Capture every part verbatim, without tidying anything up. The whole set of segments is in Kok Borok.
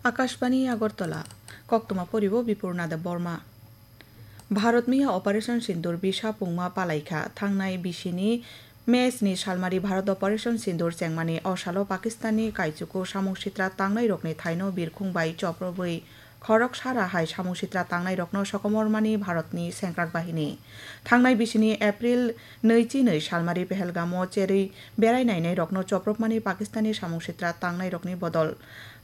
Akashbani Agartala, koktwma poribo Bipurna Debbarma. Bharat miya Operation Sindoor bisa pungma palaikha. Thangnai bisini May sni salmari Bharat Operation Sindoor chengmani o salo Pakistanni kaichuku samung sitra tangnairokni thaino birkhung bai choprobwi khorok sara hai samung sitra tangnairokno sokomormani Bharatni sengkrak bahini. Thangnai bisini April nui chi nui salmari Pehelgamo cherwi berai nainairokno chopropmani Pakistanni samung sitra tangnairokni bodol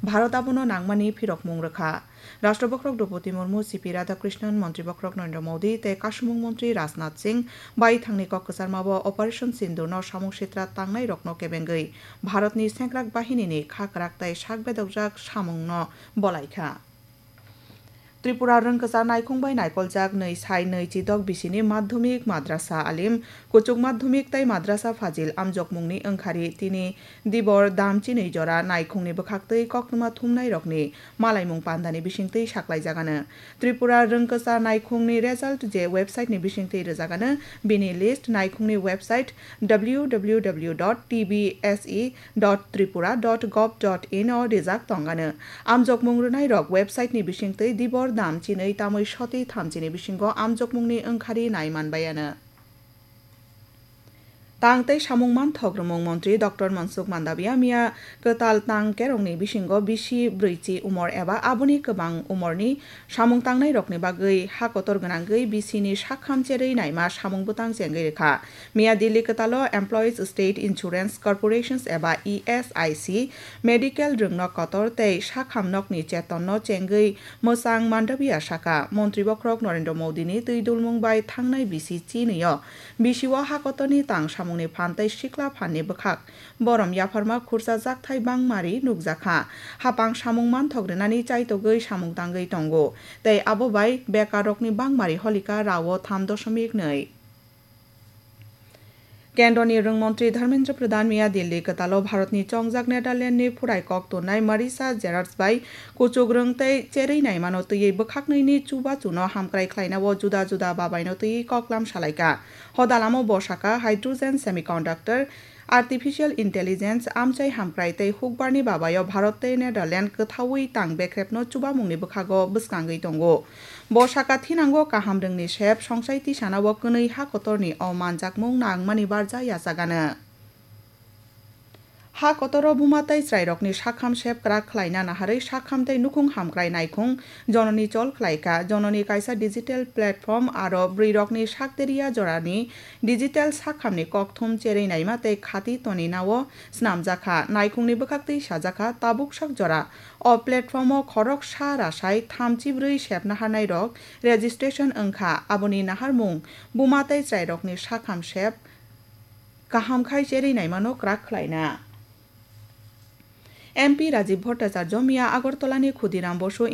Bharat abono nangmani phirokmung rwkha. Rashtra bokhorok Droupadi Murmu, C P Radhakrishnan, Montri bokhorok Narendra Modi tei Kasumung Montri Rajnath Singh bai thangni kok kwcharmao Operation Sindoorno samung sitra tangnairokno kebengwi Bharatni sengkrak bahinini kha kwrak tei sak bedokjak samungno bolaikha. Tripura rwngkwchar naikhung bai naikoljak nui sai nui chidok bisini madhyamik madrasa alim, kuchuk madhyamik tei madrasa fazil amjokmungni wngkhari tini dibor dam chinwi jora naikhungni bwkhaktwi koktwma thumnairokni malaimung pandani bisingtwi saklaijagano. Tripura rwngkwchar naikhungni result je website ni bisingtwi rwjagano, bini list naikhungni website W W W dot T B S E dot tripura dot gov dot in o rijak tongano. Amjokmung rwnairok website ni bisingtwi dibor dam chinwi tamwi soti thamchini bisingo amjokmungni wngkhari nai manbaiano. Tang tei samung manthok rwmung montri Doctor Mansukh Mandaviya miya kwtal tang kerongni bisingo bisi brwichi umor eba aboni kwbang umorni samung tangnairokni bagwi ha kotor gwnangwi bisini sakham cherwi naima samung bwtang chengwi rwkha. Miya Delhi kwtalo Employees State Insurance Corporations eba E S I C medical rwngno kotor tei sakham nokni chetonno chengwi mwchang Mandaviya saka, Montri bokhorok Narendra Modini twi dulmung bai thangnai bisi chinwi o bisio ha kotorni tang samungni phan tei sikla phanni bwkhak borom yapharma khursa jakthai bangmari nukjakha. Hapang samung manthok rwnani chaitogwi samung tangwi tongo tei abo bai bekarrokni bangmari holika rao tham doshomik nui. Kendroni rwngmontri Dharmendra Pradhan miya Delhi kwtalo Bharatni chongjak Netherlandni phurai kok tonnai Marisa Gerards bai kuchuk rwng tei cherwi naimano twiwi bwkhaknwini chubachuno hamkrai khlainao juda juda babaino twiwi koklam salaikha. Hodalamo bo saka hydrogen semiconductor, artificial intelligence, amchai hamkrai tei hukbarni babaio Bharat tei Netherland kwthaui tang bekrepno chubamungni bwkhago bwskangwi tongo. Bo saka thinango kaham rwngni sep songsai tisanao kwnwi ha kotorni o manjakmung nangmani barja yachagano. Ha kotoro buma tei chwrairokni sakham sep kwrak khlaina naharwi sakham tei nukhung hamkrai naikhung Jononi chol khlaikha. Jononi kaisa digital platform aro bwrwirokni sakderia jorani digital sakhamni kokthum cherwi naima tei khati toninao snamjakha. Naikhungni bwkhaktwi sajakha, tabuk sak jora o platformo khorok sa rasai thamchi brwi sep naharnairok registration wngkha. Aboni naharmung buma tei chwrairokni sakham sep kaham khai cherwi naimano kwrak khlaina. M P Rajiv Bhattacharya miya Agartalani Khudiram Bosu